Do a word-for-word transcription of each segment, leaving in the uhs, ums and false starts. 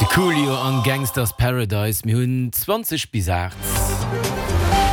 De Coolio an Gangsta's Paradise. Mir hunn zwanzeg bis aacht.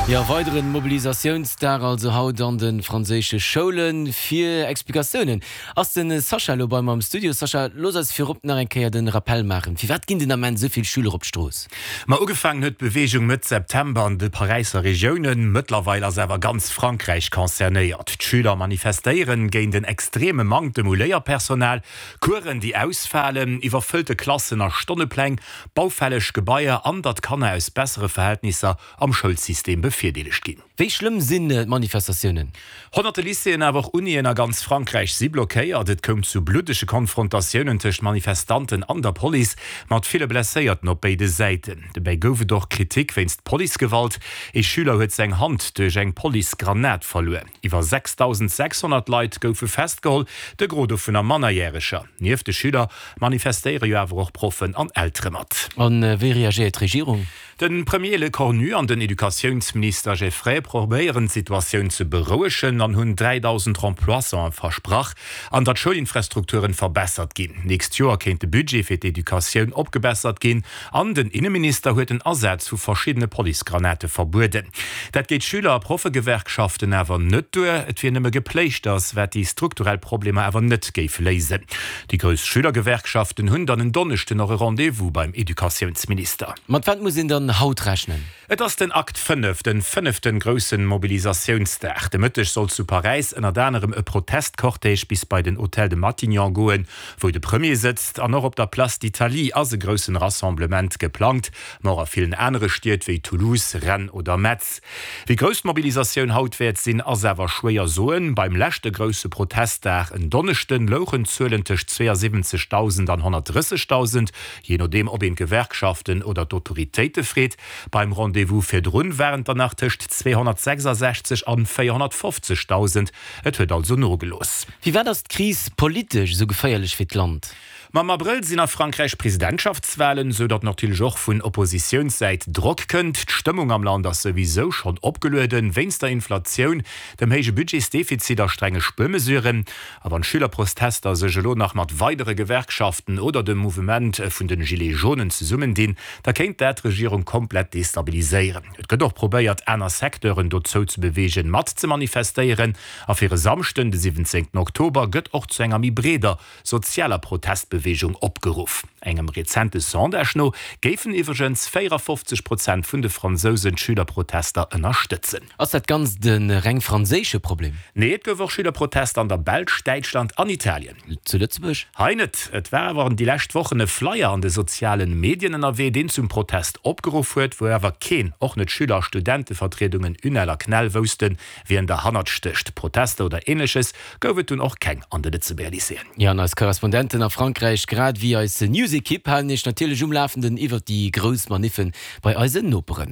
Jo, weideren Mobilisatiounsdag also haut an de franséische Schoulen. Fir Explikatiounen ass de Sascha elo bei mer am Studio. Sascha, looss eis virop nach eng Kéier de Rappel maachen, Firwat ginn den Ament esou vill Schüler op d'Strooss? Ma ugefaangen huet d'Beweegung Mëtt September an de Paräisser Regiounen. Mëttlerweil ass awer ganz Frankräich concernéiert. D'Schüler manifestéieren géint en extreme Manktem u Léierpersonal, Coursen déi ausfalen, iwwerfëllte Klassen a Stonnepläng, baufälleg Gebaier an datt Kanner aus bessere Verhältnisser am Schoulsystem bevirdeelegt ginn. Wéi schlëmm sinn d'Manifestatiounen? Honnerte Lycéeën, awer och Unien a ganz Frankräich si blockéiert. Et koum zu bluddege Konfrontatiounen tëscht Manifestanten an der Police, mat ville Blesséierten op béide Säiten. Dobäi gouf et och Kritik wéinst Policegewalt. Ee Schüler huet seng Hand duerch eng Policegranat verluer. Iwwer sechsdausendsechshonnert Leit goufe festgeholl, de Gros dovunner Mannerjäreger. Nieft de Schüler manifestéiere jo awer och Proffen an Eltere mat. A wéi reagéiert d'Regierung? De Premier Lecornu an den Educatiounsminister Geffray probéieren d'Situatioun ze berouegen an hunn dräidausend Remplaçanten versprach an datt d'Schoulinfrastrukturen verbessert ginn. Nächst Joer kéint de Budget fir d'Educatioun opgebessert ginn an den Inneminister huet den Asaz vu verschiddene Policegranate verbueden. Dat geet Schüler a Proffegewerkschaften awer net duer. Et wier nëmme Gepléischters, wat déi strukturell Problemer awer net géif léisen. Déi grouss Schülergewerkschaften hunn dann en Donneschden och e Rendez-vous beim Educatiounsminister. Mat wat muss een dann haut rechnen? Et ass den Akt fënnef, den fënneften groussen Mobilisatiounsdag. De Mëtteg soll zu Paräis ënnert anerem e Protestcortège bis bei den Hôtel de Matignon goen, wou de Premier sëtzt. An och op der Place d'Italie ass e groussen Rassemblement geplangt, ma och a villen anere Stied wéi Toulouse, Rennes oder Metz. Wéi grouss d'Mobilisatioun haut wäert sinn, ass awer schwéier soen. Beim leschte grousse Protestdag en Donneschden louchen d'Zuelen tëscht zweeënsiwwenzegdausend an honnertdrëssegdausend, jee nodeem ob een d'Gewerkschaften oder d'Autoritéite freet. Beim Rendez-vous virdrun waren et der nach tëscht zweehonnertsechsasechzeg an véierhonnertfofzegdausend. Et huet also nogelooss. Firwat ass d'Kris politesch esou geféierlech fir d'Land? Ma am Abrëll sinn a Frankräich Presidentschaftswalen, sou datt natierlech och vun Oppositiounssäit Drock kënnt. D'Stëmmung am Land ass souwisou schonn opgelueden, wéinst der Inflatioun, dem héije Budgetsdefizit a strenge Spuermesuren. A wann d'Schülerprotester sech elo nach mat weidere Gewerkschaften oder dem Mouvement vun den Gilets jaunen zesummendinn, da kéint dat d'Regierung komplett destabiliséieren. Et gëtt och probéiert, aner Secteuren dozou ze beweegen, mat ze manifestéieren. A fir e Samschden, de siwwenzéngten Oktober, gëtt och zu enger méi breeder sozialer Protestbeweegung opgeruff. Engem rezente Sondage no géifen iwwregens véierafofzeg Prozent vun de Fransousen d'Schülerprotester ënnerstëtzen. Ass dat Ganzt e reng franséische Problem? Nee, et gouf och Schülerprotester an der Belsch, Däitschland an Italien. Zu Lëtzebuerg? Hei net. Et war awer déi lescht Wochen e Flyer an de sozialen Medien ënnerwee, deen zum Protest opgeruff huet, wou awer keen, och net Schüler a Studentevertriedungen UNEL a CNEL, woussten, wien derhannert stécht. Protester oder Ähnleches gouf et dunn och keng an de Lëtzebuerger Lycéeën. Jo, an eis Korrespondenten a Frankräich grad ewéi eis News-Ekipp halen Iech natierlech um Lafenden iwwert déi grouss Maniffen bei eisen Noperen.